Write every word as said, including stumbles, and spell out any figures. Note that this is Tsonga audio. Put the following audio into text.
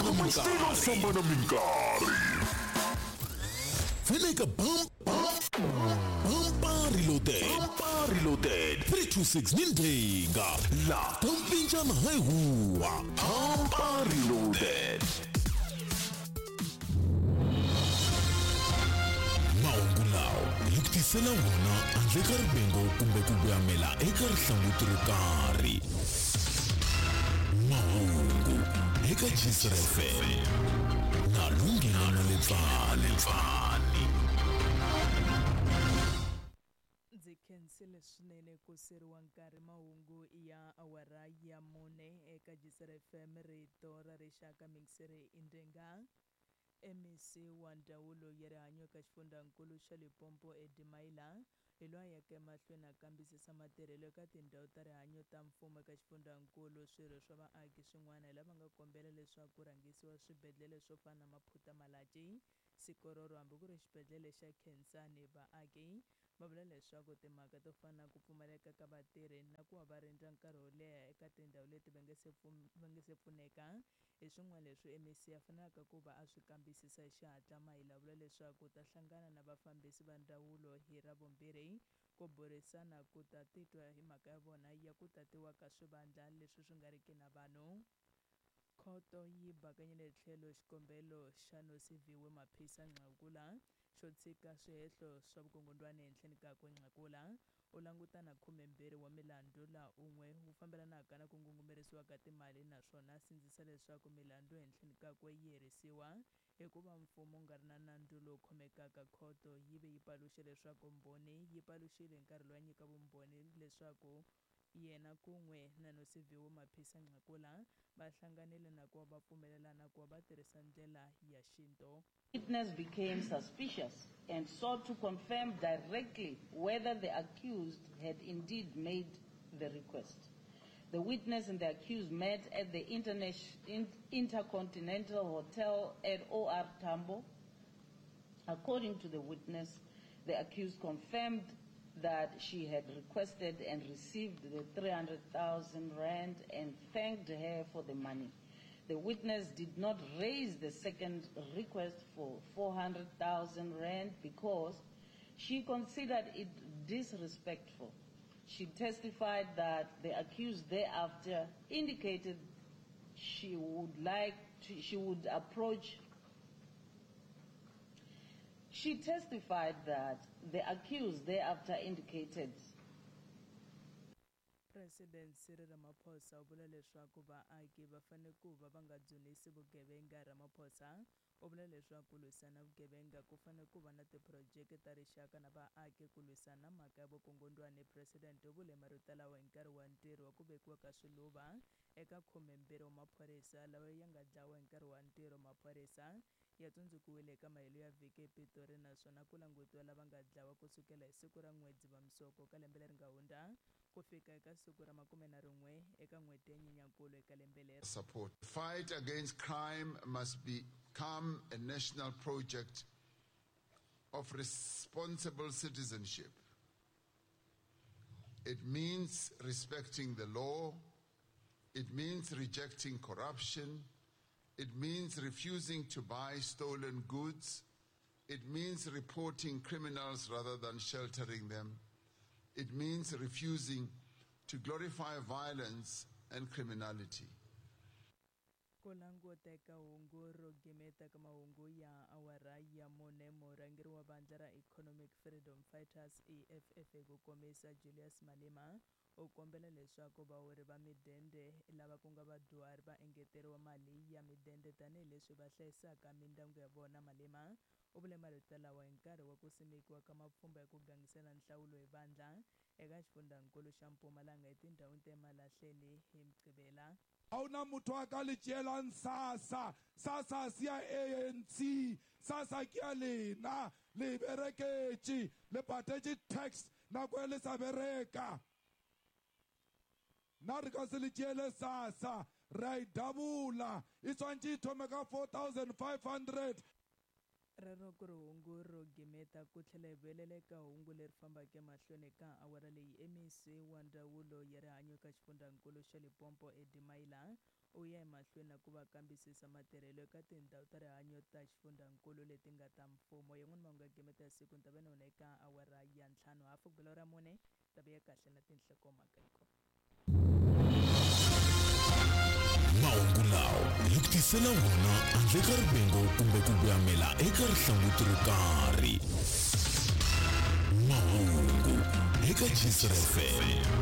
famba na minkarhi Pfeleka bam bam reloaded bam reloaded three two six nindenga la tampinjana haihuwa bam reloaded mahungu lawa hi ku tisela wona handle ka rivengo kumbe ku voyamela eka rihlanguti ro karhi. Mahungu eka Jisr F M na Lunghelo Lepfani. Ndzi khensile swinene ku seriwa nkarhi mahungu ya awara ya mune eka Jisr F M rito ra rixaka mixere indenga. M E C wa ndzawulo ya rihanyo eka xifundzankulu xa Limpopo Eddie Maila hi loyi a yaka emahlweni a kambisisa matirhelo eka tindhawu ta rihanyo ta mfumo eka xifundzankulu. Swirho swa vaaki swin'wana hi lava nga kombela leswaku ku rhangisiwa swibedhlele swo fana na Maphutha Malatji, Sikororo hambi ku ri xibedhlele xa Khensani. Vaaki va vula leswaku timhaka to fana na ku pfumaleka ka vatirhi na ku va va rindza nkarhi wo leha eka tindhawu leti va nga se va nga se pfuneka hi swin'wana leswi M E C a fanelaka ku va a swi kambisisa hi xihatla. Maila vula leswaku ta hlangana na vafambisi va ndzawulo hi Ravumbirhi ku burisana ku ta titwa hi mhaka ya vona ya ku tatiwa ka swivandla leswi swi nga riki na vanhu. Khoto yi bakanyile tlhelo xikombelo xa Nosiviwe Maphisa Nqakula xo tshika swihehlo swa vukungundwani ehenhleni kakwe. Nqakula u langutana khumembirhi wa milandzu laha un'we wu fambelanaka na ku ngungumerisiwa ka timali naswona a sindzisa leswaku milandzu ehenhleni kakwe yi herisiwa hikuva mfumo wu nga ri na nandzu lowu khomekaka. Khoto yi ve yi paluxe leswaku mbhoni yi paluxile hi nkarhi lowu a nyika vumbhoni leswaku yena kun'we na Nosiviwe Maphisa Nqakula va hlanganile na ku va va pfumelelana ku va va tirhisa ndlela ya xintu. Witness became suspicious and sought to confirm directly whether the accused had indeed made the request. The witness and the accused met at the Intercontinental Hotel at O R Tambo. According to the witness, the accused confirmed that she had requested and received the three hundred thousand rand and thanked her for the money. The witness did not raise the second request for four hundred thousand rand because she considered it disrespectful. She testified that the accused thereafter indicated she would like to, she would approach She testified that the accused thereafter indicated President Cyril Ramaphosa u vula leswaku vaaki va fanele ku va va nga dzunisi vugevenga. Ramaphosa u vula leswaku ku lwisana vugevenga ku fanele ku va na tiphurojeke ta rixaka na vaaki ku lwisana mhaka ya vukungundwani. President u vule marito lawa hi nkarhi wa ntirho wa ku vekiwa ka swiluva eka khumembirhi wa maphorisa lawa ya nga dlawa hi nkarhi wa ntirho. Maphorisa ya tsundzukiwile eka mahelo ya vhiki ePitori naswona ku langutiwa lava nga dlawa kusukela hi siku ra n'we Dzivamisoko ka lembe leri nga hundza ku fika eka siku ra makume na rin'we eka n'hweti ya Nyenyankulu eka lembe leri. Support. Fight against crime must become a national project of responsible citizenship. It means respecting the law. It means rejecting corruption. It means refusing to buy stolen goods. It means reporting criminals rather than sheltering them. It means refusing to glorify violence and criminality. Ku languta eka hungu ro gimeta ka mahungu ya awara ya mune, murhangeri wa vandla ra Economic Freedom Fighters E F F hi ku komisa Julius Malema u kombela leswaku vahori va midende lava ku nga vadyuhari va engeteriwa mali ya midende tanihileswi va hlayisaka mindyangu ya vona. Malema u vule marito lawa hi nkarhi wa ku simekiwa ka mapfhumba ya ku gangisela nhlawulo hi vandla eka xifundzankulu xa Mpumalanga etindhawini ta Emalahleni hi Mugqivela. Ha hona motho a ka le tšeelang SASSA. SASSA se ya A N C, SASSA ke ya lena, le bereketše, le patetše tax nako e le sa bereka. Nna re ka se le tšeele SASSA, re a e dabula, e tshwantše e thome ka four thousand five hundred. Rero ku ri hungu ro gimeta ku tlhela hi vuyelela eka hungu leri fambaka emahlweni ka awara leyi. M E C wa ndzawulo ya rihanyo eka xifundzankulu xa Limpopo, Eddie Maila, u ya emahlweni na ku va kambisisa matirhelo eka tindhawu ta rihanyo ta xifundzankulu leti nga ta mfumo. Yin'wana mahungu ya gimeta ya siku ni ta va na wona eka awara ya ntlhanu hafu ku bela ra mune. Ta va ya kahle na tinhlokomhaka hiko. Mahungu lawa hi ku tisela wona handle ka rivengo kumbe ku voyamela eka rihlanguti ro karhi. Mahungu eka Jisr F M.